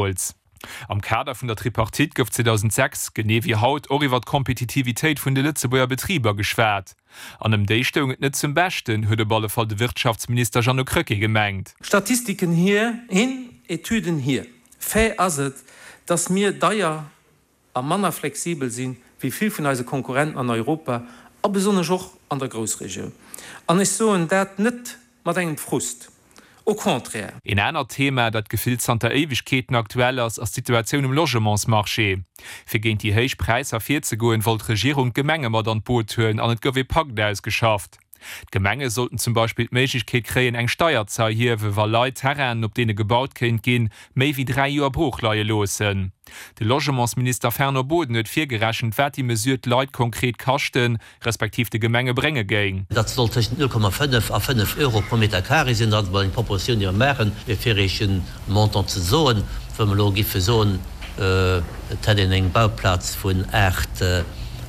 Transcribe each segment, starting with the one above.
Deemools, am Kader vun der Tripartite, gouf 2006, genee wéi haut, och iwwer d'Kompetitivitéit vun de Lëtzebuerger Betriber geschwat. An ëm déi stoung et net zum Beschten, huet op alle Fall de Wirtschaftsminister Jeannot Krecké gemengt. Statistiken hin, Etüden hier. Fait ass et, dass mir deier a manner flexibel si wéi vill vun eise Konkurrenten an Europa a besonnesch och an der Groussregioun. An ech soen dat net mat engem Frust, au contraire. Een anert Thema, dat gefillt zanter Éiwegkeeten aktuell ass, ass d'Situatioun um Logementsmarché. Fir géint déi héich Präisser virzegoen, wollt d'Regierung d'Gemenge mat an d'Boot huelen an et gouf ee Pakt ausgeschafft. D'Gemenge sollten zum Beispill d'Méiglechkeet kréien, eng Steier ze erhiewen, wa Leit Terrainen, op deene gebaut kéint ginn, méi wéi 3 Joer brooch leie loossen. De Logementsminister Fernand Boden huet virgerechent, wat déi Mesure d'Leit konkret kaschten, respektiv de Gemenge brénge géing. Dat soll tëschent 0,5 a 5 Euro pro Meter carré sinn. Dat ass emol eng Propositioun, déi mer maachen, fir Iech e Montant ze soen. Wa mer elo giffe soen, et hätt een eng Bauplaz vun 8,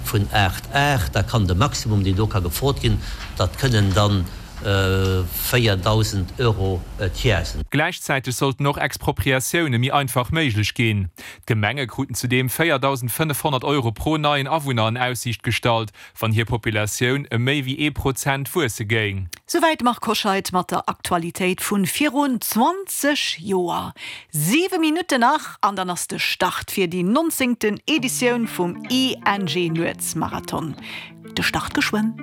vun 8 Ar, da kann de Maximum, deen do ka gefrot ginn, dat kënnen dann 4.000 Euro d'Jar sinn. Gläichzäiteg sollten och Expropriatioune méi einfach méiglech ginn. D'Gemenge kruten zudeem 4.500 Euro pro neien Awunner an Aussiicht gestallt, wann hir Populatioun ëm méi wéi ee Prozent wuesse géing. Souwäit de Marc Hoscheid mat der Aktualitéit vun virun 20 Joer. 7 Minutten nach an dann ass de Start fir déi nonzéngten Editioun vum ING Nuetsmarathon. De Start geschwënn.